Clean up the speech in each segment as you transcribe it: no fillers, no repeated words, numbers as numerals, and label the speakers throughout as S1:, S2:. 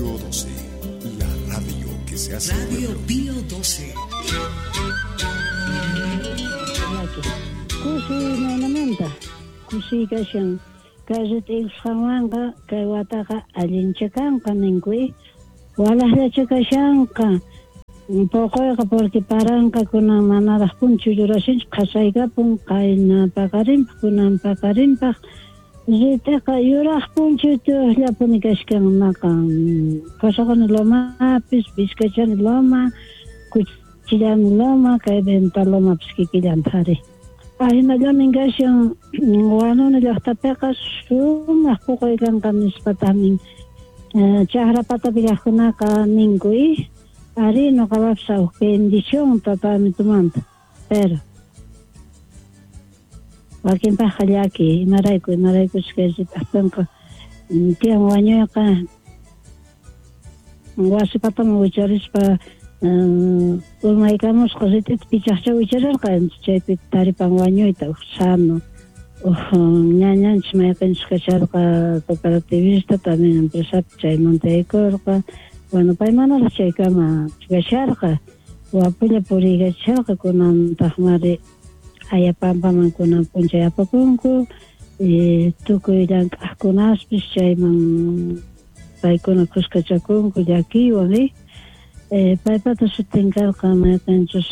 S1: Radio 12, la radio que se hace
S2: Radio
S1: pueblo.
S2: Pío 12.
S3: Kusi imaynamanta kusiy kashan kay rit'ikusqanwanqa kay wataqa allincha kanqa ninku walaqllacha kashanqa poqoyqa porque paranqa kunan manaraq punchu yurashinchu qhasaykapun qayna paqarinpaq kunan paqarinpaq rit'iqa yuraq punchuytuqllapuni kashkan maqan Qusaquni lomapis Vizcachani loma Cuchillani loma kay Venta lomapis kikillantaq ari Ahinallamin kashan Huanuni llaqtapiqa sumaq puquy kanqa nispataqmin chaqra patapi kaqkunaqa ninku ari nuqapapis huk bendición tatamitumanta pero wakinpaqqa llaki imarayku imaraykuchus kay rit'aqtinqa tiyan wañuyqa wasi pataman wicharispa urmaykamusqa rit'ita pichaqcha wicharirqa chaypi taripan wañuyta huk sano huk ñañanchis mayqinchus kasharqa cooperativista también empresapi chaymanta yaykurqa bueno pay manaraq chaykama kasharqa wapulla puriykachisharqa kunantaqmari Ayapampaman kunan p'unchay apapunku tukuy llank'aqkunaspis chayman paykuna kuskachakunku llakiywan paypata sutin karqa mayqinchus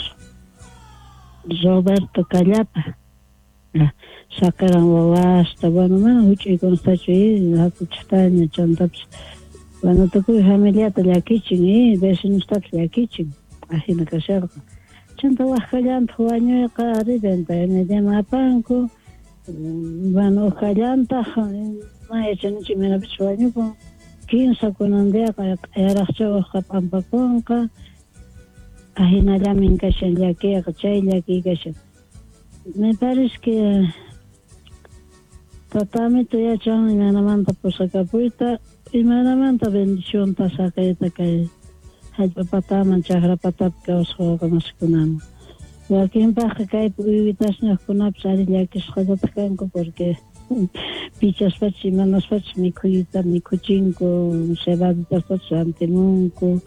S3: Roberto Callapa saqiran wawasta bueno mana huch'uykunatachu hatuchaqtaña chantapis bueno tukuy familiata llakichin vecinostapis llakichin ajina kasharqa chanta wak kallantaq wañuyqa ari venta mediaman apanku bueno huk kallantaq mana yachanichu imaynapichus wañupun kinsa kunan diaqa q'ayaraqcha hukqa p'ampakunqa ahinallamin kashan llakiyqa chay llakiy kashan me parece que tatamito yachan imaynamanta pusakapuyta imaynamanta bendicionta saqiyta kay hallp'a pataman chakra patapi kawsaq wawqamasikunaman wakinpaqqa kaypi uywitasniyuqkunapis ari llakisqallataq kanku porque pichaspachus imanaspachus mikhuyta mikhuchinku cebaditastachus rantimunku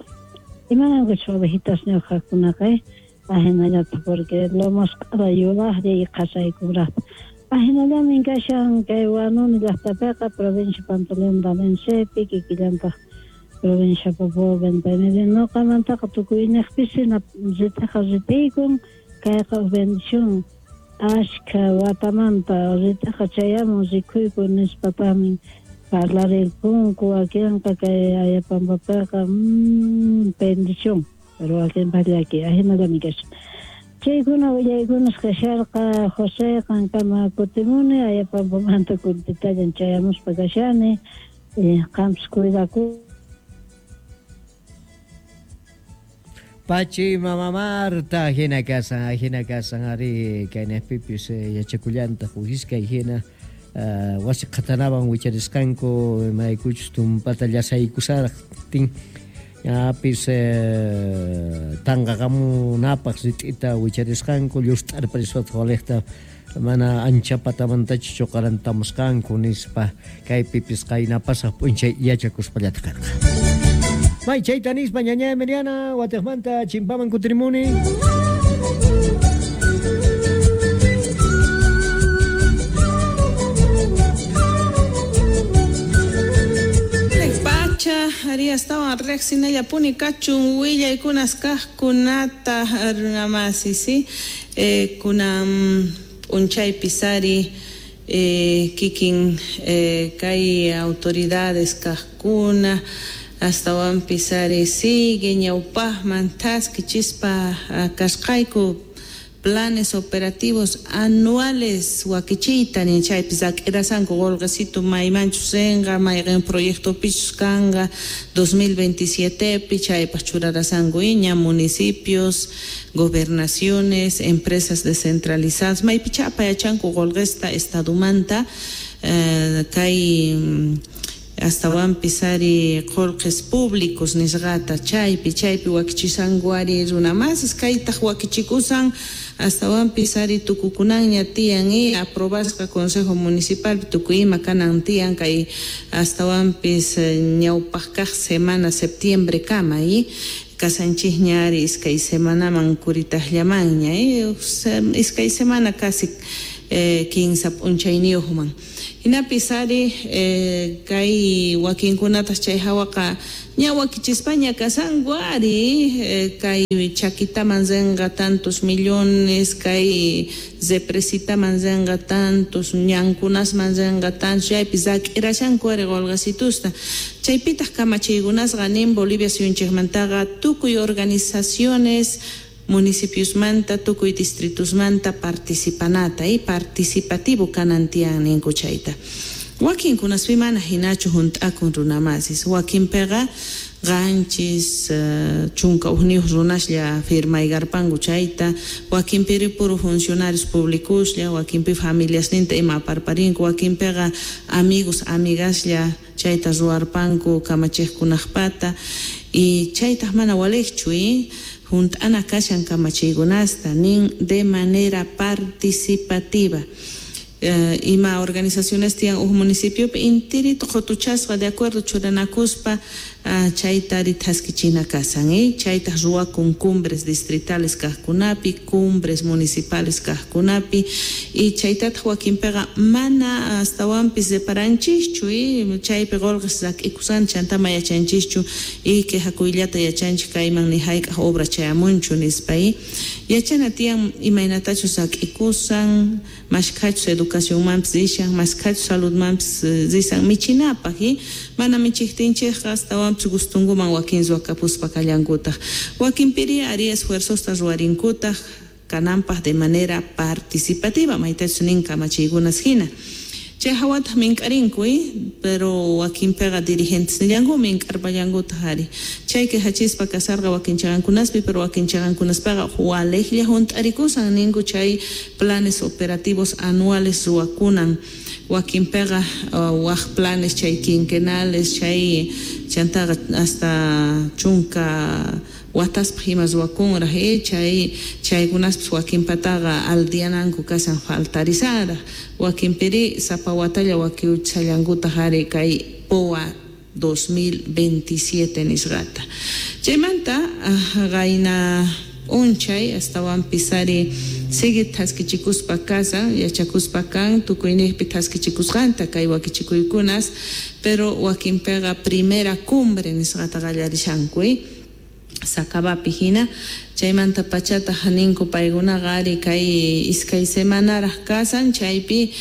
S3: imanankuchus ovejitasniyuq kaqkunaqa ahinallataq porque lomasq'ara yuraqlla y qhasaykunraqta ahinallamin kashan kay Huanuni llaqtapiqa provincia Pantaleón Valencepi kikillantaq provincia Poopó Venta y Media nuqamantaqa tukuyniqpis hina rit'iqa rit'iykun kayqa huk bendición ashkha watamanta rit'iqa chayamun rikhuyku nispataqmi parlarirqunku wakinqa kay Ayapampapiqa bendición pero wakinpaq llaki ahinallami kashan chaykuna willaykunas kasharqa José qankama kutimuni Ayapampamanta kuntitallan chayamuspa kashani qampis cuidaku.
S4: Pachi mama Marta hina kasan ari kaynaqpipis yachakullantaq uhiskay hina wasi qhatanawan wicharisqanku imaraykuchus tumpata llasaykusaraqtin ñapis tanqaqamunapaq rit'ita wicharisqanku llust'arpariswataq waliqta mana ancha patamantachu chuqarantamusqanku nispa kaypipis qaynapasaq p'unchay yachakuspallataq karqa. May chayta nispa ñaña Emiliana watiqmanta chimpaman kutirimuni.
S5: Pacha ari astawan riqsinallapuni kachun willaykunas kaqkunata runamasi si kunan p'unchaypis ari kikin kay autoridades kaqkuna astawanpis ari sigue ñawpaqman thaskichispa kasqayku planes operativos anuales wakichiyta nin chaypis ak'irasanku qolqesitu maymanchus rinqa mayqin proyectopichus kanqa 2027pi chaypaq churarasanku iña municipios gobernaciones empresas descentralizadas maypichapa yachanku qolqesta estadumanta kay Astawanpis ari qullqis públicos nisqata chaypi wakichisanku ari runamasis kaytaq wakichikusan astawanpis ari tukukunanña tiyan aprobasqa Consejo Municipal tukuy ima kanan tiyan kay astawanpis ñawpaq kaq semana septiembre kama kasanchikña ari iskay semanaman kuritaqllamanña iskay semana casi 15 p'unchayniyuqman. Hinapis ari kay wakinkunataq chay hawaqa ña wakichispaña kasanku ari kay chakitaman rinqa tantos millones, kay represitaman rinqa tantos, ñankunasman rinqa tantos, chaypi rak'irashanku ari qolqasitusta. Chaypitaq kamachiykunasqa nin Bolivia suyunchikmantaqa tukuy organizaciones municipiosmanta, tukuy distritosmanta participanata y participativo kanan tiyan ninku chayta. Wakinkunaspi mana hinachu hunt'akun runamasis, wakinpiqa qanchis 11 runaslla firmaykarpanku chayta, wakinpiri puro funcionarios públicoslla, wakinpi familiasninta ima aparparinku, wakinpiqa amigos, amigaslla chayta ruwarpanku kamachiqkunaqpata y chaytaq mana waliqchu junt'ana kashan kamachiykunasta nin de manera participativa. Ima organizaciones tiyan uj municipiopi intirito qutuchasqa de acuerdo churanakuspa chayta ari thaskichina kasan chaytaq ruwakun cumbres distritales kaqkunapi, cumbres municipales kaqkunapi y chaytataq wakinpiqa mana astawanpis reparanchikchu chaypi qolqes rak'ikusan chantama yachanchischu y quejakuyllata yachanchik kayman ni hayk'aq obra chayamunchu nispa yachana tiyan imaynatachus rak'ikusan mashkhachus educacionmanpis rishan, mashkhachus saludmanpis risan michinapaq mana michiktinchikqa astawanpis gustunkuman wakin ruwakapuspa kallankutaq. Wakinpiri ari esfuerzosta ruwarinkutaq kananpaq de manera participativa maytachus nin kamachiykunas hina. Chay hawataq mink'arinku pero wakinpiqa dirigentes nillanku mink'arpallankutaq ari. Chay quejachispa kasarqa wakin chaqankunaspi pero wakin chaqankunaspaqa waliqlla hunt'arikusan ninku chay planes operativos anuales ruwakunan. Wakinpiqa waq planes chay quinquenales chay chantaqa hasta 10 wataspaq ima ruwakunraq chay chaykunaspis wakinpataqa aldiananku kasan faltarisaraq wakinpiri sapa watalla wakiuchallankutaq ari kay POA 2027 nisqata. Chaymanta qayna p'unchay astawanpis ari sigue thaskichikuspa kasan yachakuspa kan tukuyniqpi thaskichikusqanta kay wakichikuykunas pero wakinpiqa primera cumbre nisqata qallarishanku Sakabapi hina chaymanta pachataq ninku paykunaqa ari kay iskay semanaraq kasan chaypi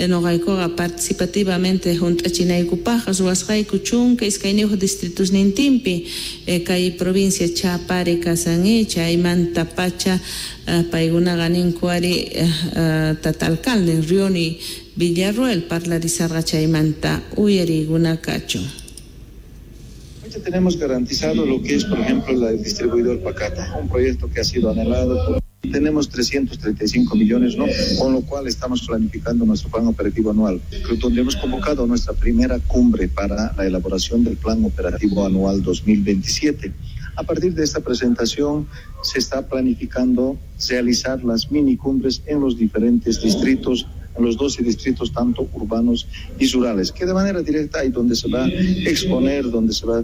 S5: noqaykuqa participativamente hunt'achinaykupaqqa ruwasqayku 12 distritosnintinpi kay provincia Chapare kasan chaymanta pacha paykunaqa ninku ari tata alcalde Rioni Villarroel parlarisarqa chaymanta uyariykuna kachun.
S2: Tenemos garantizado lo que es, por ejemplo, el distribuidor Pacata, un proyecto que ha sido anhelado. Tenemos 335 millones, ¿no? Con lo cual estamos planificando nuestro plan operativo anual, donde hemos convocado nuestra primera cumbre para la elaboración del plan operativo anual 2027. A partir de esta presentación se está planificando realizar las mini cumbres en los diferentes distritos, en los 12 distritos, tanto urbanos y rurales, que de manera directa hay donde se va a exponer, donde se va a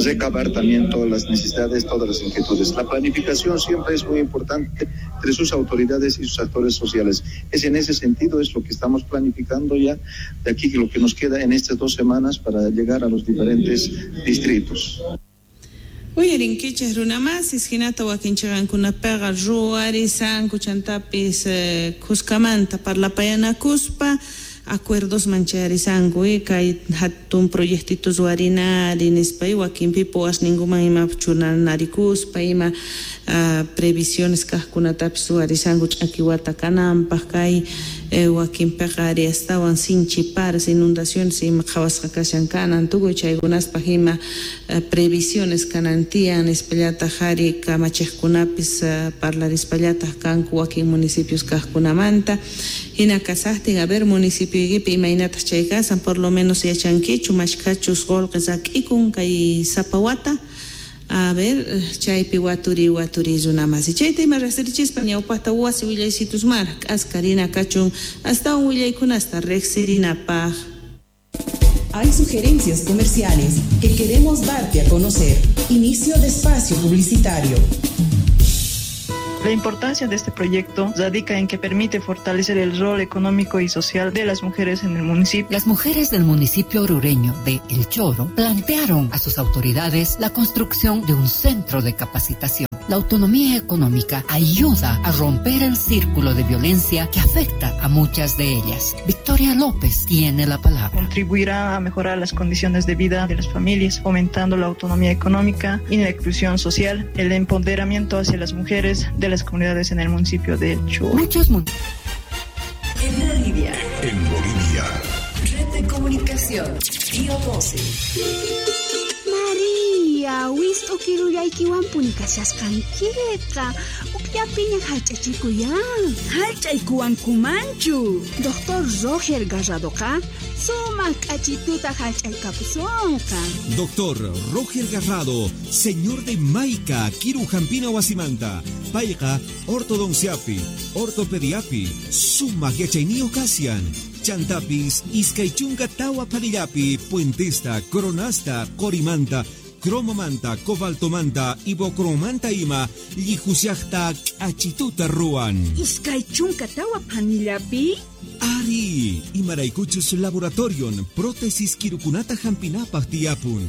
S2: recabar también todas las necesidades, todas las inquietudes. La planificación siempre es muy importante entre sus autoridades y sus actores sociales. Es en ese sentido, es lo que estamos planificando ya de aquí, lo que nos queda en estas 2 semanas para llegar a los diferentes distritos.
S5: Uyarinkichik runamasis hinata wakinchaqankunapiqa ruwarisanku chantapis kuskamanta parlapayanakuspa acuerdos mancharisanku kay hatun proyectito ruwarinari nispa wakinpi powasninkuman ima chunanarikuspa ima previsiones kaqkunatapis ruwarisanku ch'akiwata kananpaq kay Wakinpiqa ari astawan sinchi paras, inundaciones ima qhawasqa kashan kanan, tukuy chaykunaspaq ima previsiones kanan tiyan, nispallataq ari kamachiqkunapis parlarispallataq kanku wakin municipios kaqkunamanta. Hina kasaqtin, a ver, municipioykipi imaynataq chay kasan, por lo menos yachankichu mashkhachus qullqi rak'ikun kay sapa wata. A ver, chaypi waturi waturi runamasi. Chayta ima riqsirichispa ñawpaqta wasi willaysitus mara k'askarina kachun astawan willaykunasta riqsirinapaq.
S6: Hay sugerencias comerciales que queremos darte a conocer. Inicio de espacio publicitario.
S7: La importancia de este proyecto radica en que permite fortalecer el rol económico y social de las mujeres en el municipio.
S8: Las mujeres del municipio orureño de El Choro plantearon a sus autoridades la construcción de un centro de capacitación. La autonomía económica ayuda a romper el círculo de violencia que afecta a muchas de ellas. Victoria López tiene la palabra.
S7: Contribuirá a mejorar las condiciones de vida de las familias, fomentando la autonomía económica y la inclusión social, el empoderamiento hacia las mujeres de las comunidades en el municipio de El Choro.
S8: Muchos
S9: En Bolivia.
S1: En Bolivia.
S9: Red de comunicación. Río 12.
S10: Maria, wist'u kirullaykiwanpuni kashasqankiqa. Ukllapiña hallch'achikuyan.
S11: Hallch'aykuwankumanchu.
S10: Doctor Roger Garradoqa sumaq k'achituta hallch'aykapusunqa.
S12: Doctor Roger Garrado, señor de Maica, Kiru Hampina Wasimanta, Payqa, ortodonciapi, ortopediapi, sumaq yachayniyuq kasian. Chantapis, iskay chunka tawa panillapi, puentesta, coronasta, qorimanta, cromomanta, cobaltomanta, ibocromanta ima, llihusiaqta k'achituta ruwan.
S11: Iskay chunka tawa panillapi?
S12: Ari, imaraykuchus laboratorion, prótesis kirukunata hampinapaq tiyapun.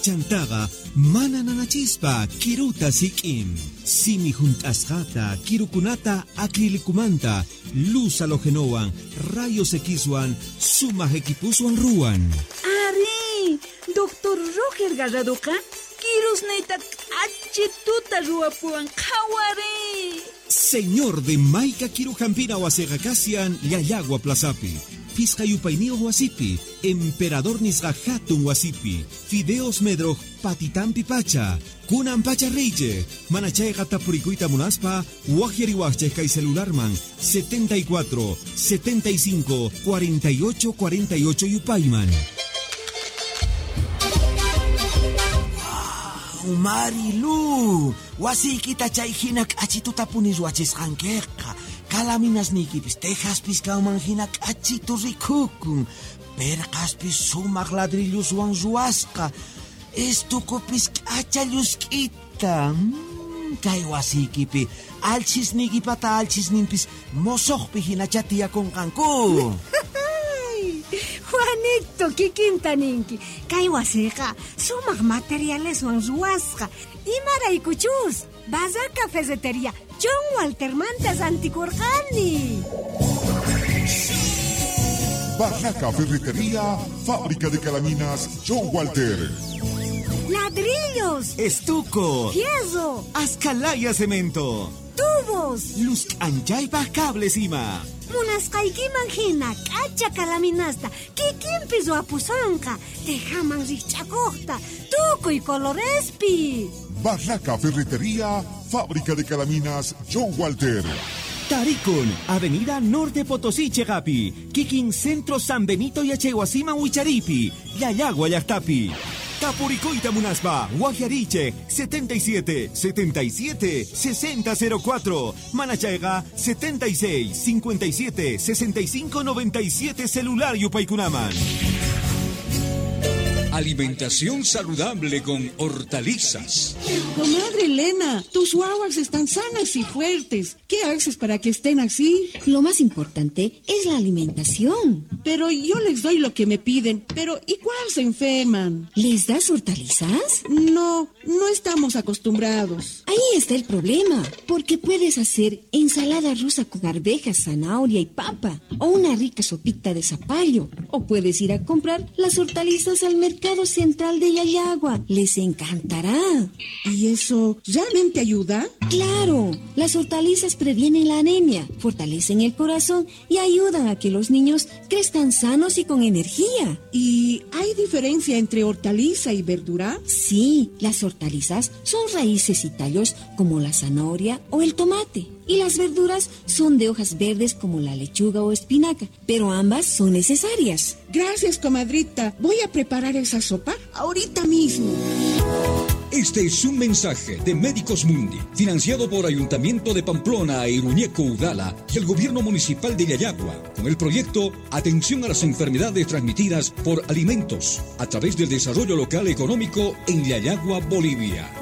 S12: Chantaqa mana nanachispa kiruta sik'in. Simi hunt'asqata, kirukunata acrilicumanta, luz halogenowan, rayos Xwan, sumaq equipuswan ruwan.
S11: Ari, Doctor Roger Garradoqa kirusniyta k'achituta ruwapuwan qhawari.
S12: Señor de Maica Kirujampina wasiqa kasian Llallagua Plazapi, Pisqa yupayniyuq wasipi, Emperador nisqa hatun wasipi, Fideos Medroj patitampi pacha, Kunan pacha reyche, manachayqa tapurikuyta munaspa, waqyariwaqchej kay celularman 74 75 48 48 yupayman.
S13: Marilu, wasiykita chay hina k'achituta puni ruwachisqankiqa. Kalaminasniykipis tejaspis kanman hina k'achitu rikukun. Perqaspis sumaq ladrilluswan ruwasqa. Estukupis k'acha llusk'ita. Kay wasiykipi alchisniykipata alchisninpis mosoqpi hinacha tiyakunqanku.
S14: Juanito, kikinta ninki. Kay wasiqa sumaq materialeswan ruwasqa. Imaraykuchus, Barraca Ferretería John Waltermanta rantikurqani.
S1: Barraca Ferretería, fábrica de calaminas John Walter.
S14: Ladrillos,
S12: estuco,
S14: fierro,
S12: ascalaya cemento,
S14: tubos,
S12: luz anchaypaq cables ima.
S14: Munasqaykiman hina k'acha kalaminasta kikinpi ruwapusunqa, tejaman rikch'akuqta, tukuy colorespi.
S1: Barraca Ferretería, fábrica de calaminas John Walter.
S12: Tarikun, Avenida Norte Potosí, Chegapi, Kikin Centro San Benito Yachaywasiman Wicharipi, Llallagua llaqtapi. Tapurikuyta munaspa, Guajariche, 77 77 6004, Manachayqa, 76 57 65 97 celular yupaykunaman.
S15: Alimentación saludable con hortalizas.
S16: Comadre Elena, tus guaguas están sanas y fuertes. ¿Qué haces para que estén así?
S17: Lo más importante es la alimentación.
S16: Pero yo les doy lo que me piden, pero igual se enferman.
S17: ¿Les das hortalizas?
S16: No, no estamos acostumbrados.
S17: Ahí está el problema, porque puedes hacer ensalada rusa con arvejas, zanahoria y papa, o una rica sopita de zapallo, o puedes ir a comprar las hortalizas al mercado. Mercado Central de Llallagua. Les encantará.
S16: ¿Y eso realmente ayuda?
S17: Claro, las hortalizas previenen la anemia, fortalecen el corazón y ayudan a que los niños crezcan sanos y con energía.
S16: ¿Y hay diferencia entre hortaliza y verdura?
S17: Sí, las hortalizas son raíces y tallos como la zanahoria o el tomate. Y las verduras son de hojas verdes como la lechuga o espinaca, pero ambas son necesarias.
S16: Gracias, comadrita. Voy a preparar esa sopa ahorita mismo.
S15: Este es un mensaje de Médicos Mundi, financiado por Ayuntamiento de Pamplona e Iruñeco Udala y el Gobierno Municipal de Llallagua, con el proyecto Atención a las enfermedades transmitidas por alimentos, a través del desarrollo local económico en Llallagua, Bolivia.